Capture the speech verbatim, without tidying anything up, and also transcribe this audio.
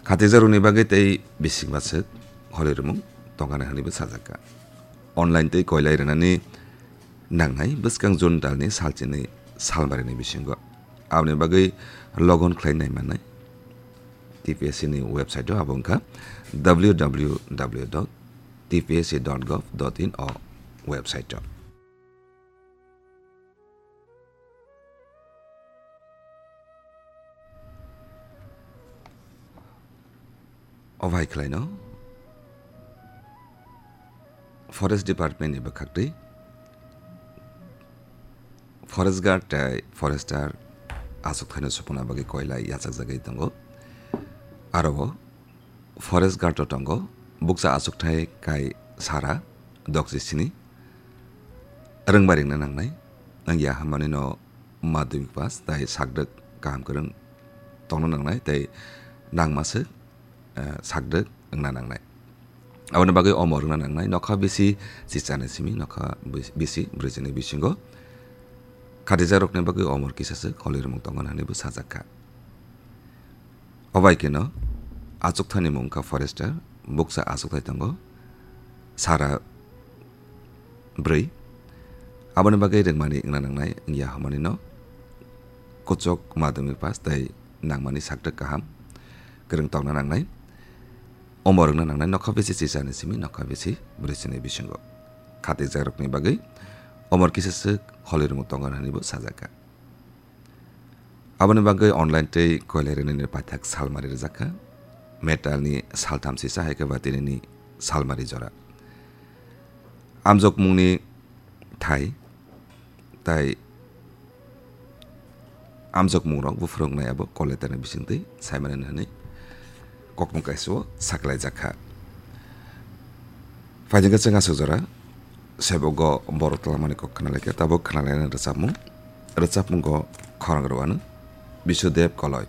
Khatijak rokni bagwi tei bising baswk holi rwmung tongkha hwnwibo sajakha. Online tei koilai rwnani nangnai bwskang June talni salchini salmarini bisingo. Aboni bagwi log on khlai nai mannai T P S C ni website o, abo wngkha W W W dot T P S C dot gov dot in o website o. O bai khlaino Forest Department ni bwkhaktwi Forest Guard tei Forester achukthai no supuna bagwi koilai yachakjagwi tongo. Aro o Forest Guard o tongo bukcha achukthai kai sara dokchi sini. Rwngbai rwngna nangnai, wngya hwnmani no madhyamik pass tai sakdwk kaham kwrwng tongna nangnai tei nangmaswk, eh, sakdwk wngna nangnai. Aboni bagwi omor wngna nangnai nokha bisi chichani simi nokha bisi brwichini bisingo. Khatijak rokni bagwi omor kisaswk holi rwmung tongo hwnwibo sajakha. O bai kheno achukthani mung wngkha Forester, bukcha achukthai tongo, sara bwrwi. Aboni bagwi rwngmani wngna nangnai wngya hwnmani no kuchuk madhyamik pass tei nangmani sakdwk kaham kwrwng tongna nangnai. Omor wngna nangnai nokha bisi chichani simi nokha bisi brwichini bisingo. Khatijak rokni bagwi omor kisaswk holi rwmung tongo hwnwibo sajakha. Aboni bagwi online tei koilai rwnani paithak salmari rwjakha. May talni saltham sisa hai khe ba tinini salmari jora. Amjokmungni thai tai amjokmungrok buphurungnai abo kol letterni bisingtwi saimani hwnwi kokmung kaisa o saklaijak kha. Phaijak khe chwng aswk jora sebogo borok twlangmani kok khna laikha, tabuk khna lainani rwchapmung. Rwchapmungo khorang rwano Bisudev Koloi.